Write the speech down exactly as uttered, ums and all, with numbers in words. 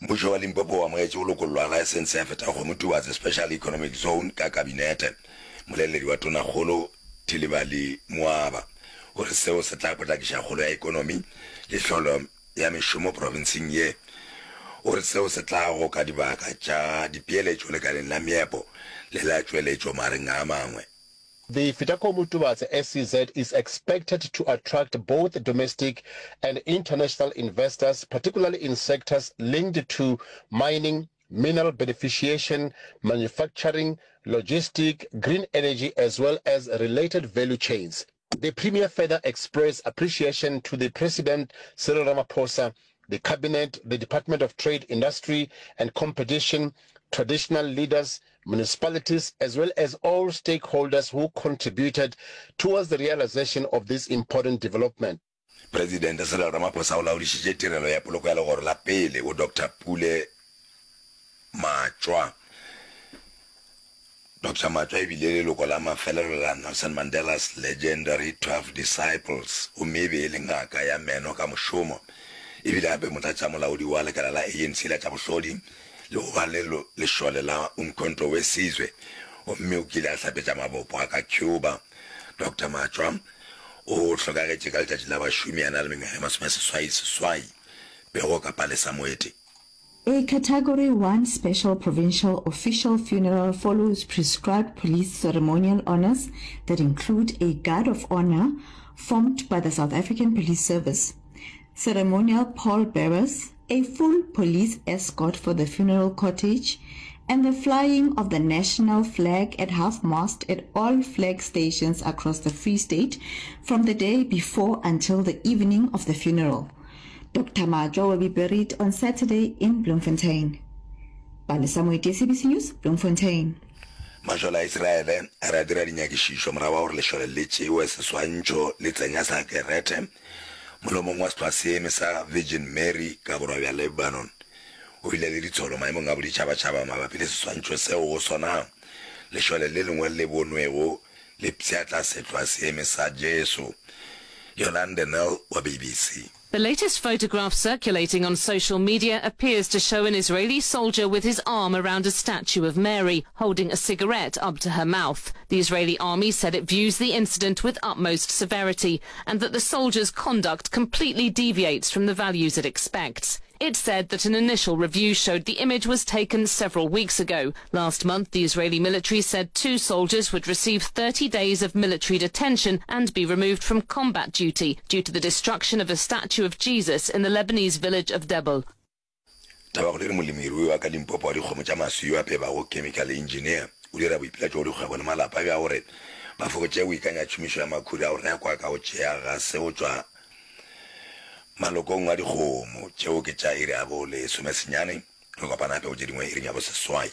Mmušo wa Limpopo o amogetše go lokollwa ga laesense ya Fetakgomo Tubatse Special Economic Zone ka Kabinete. Moleledi wa Tonakgolo Thilivhali Muaba o re seo se tla potlakiša kgolo ya ekonomi le hlolo ya mešomo profenseng ye. O re seo se tla goka dibaka tša dipeeletšo lekaleng la meepo le la tšweletšo magareng a mangwe. The Fetakgomo Tubatse S E Z is expected to attract both domestic and international investors, particularly in sectors linked to mining, mineral beneficiation, manufacturing, logistic, green energy as well as related value chains. The Premier further expressed appreciation to the President Cyril Ramaphosa, the Cabinet, the Department of Trade, Industry and Competition, traditional leaders, municipalities, as well as all stakeholders who contributed towards the realization of this important development. Presidente Cyril Ramaphosa o laodišitše tirelo ya poloko ya legoro la pele go Doctor Pule Matšwa. Doctor Matšwa e bile leloko la mafelelo la Nelson Mandela's Legendary twelve Disciples gomme e be e le ngaka ya meno ka mošomo. E bile gape motlatšamolaodi wa lekala la A N C la tša bohlodi le go ba le lešole la Umkhonto we Sizwe gomme o kile a hlapetša mabopo a ka Cuba. Doctor Matšwa o hlokagetše ka letšatši la bašomi a na le mengwaga e masomeseswai seswai. Pego ka Palesa Moeti. A Category one Special Provincial Official Funeral follows prescribed police ceremonial honours that include a guard of honour formed by the South African Police Service, ceremonial pall bearers, a full police escort for the funeral cortege, and the flying of the national flag at half-mast at all flag stations across the Free State from the day before until the evening of the funeral. Doctor Matšwa will be buried on Saturday in Bloemfontein. Palesa Moeti, S A B C News, Bloemfontein. Mašole a Isiraele a re a dira dinyakišišo morago ga gore lešole le tšewe seswantšho le tsenya sakerete molomong wa sehlwaseeme sa Virgin Mary ka borwa bja Lebanon. O bile le ditsholo maemong a boditšhabatšhaba mabapi le seswantšho seo go sona lešole le lengwe le bonwego le pšhatla sehlwaseeme sa Jesu. Yolande Nel wa B B C. The latest photograph circulating on social media appears to show an Israeli soldier with his arm around a statue of Mary, holding a cigarette up to her mouth. The Israeli army said it views the incident with utmost severity and that the soldier's conduct completely deviates from the values it expects. It said that an initial review showed the image was taken several weeks ago. Last month, the Israeli military said two soldiers would receive thirty days of military detention and be removed from combat duty due to the destruction of a statue of Jesus in the Lebanese village of Debel. Tabakgolo e re molemirui wa ka Limpopo wa dikgomo tša maswi yo a pebago chemical engineer o dira boipiletšo go dikgwebo le malapa bja gore ba fokotše go ikanya tšhomišo ya makhura a go rekwa ka go tšea gase go tšwa malokong a dikgomo. Tšeo ke tša iri ya bo lesomesenyane. Re kopana gape go tše dingwe iring ya boseswai.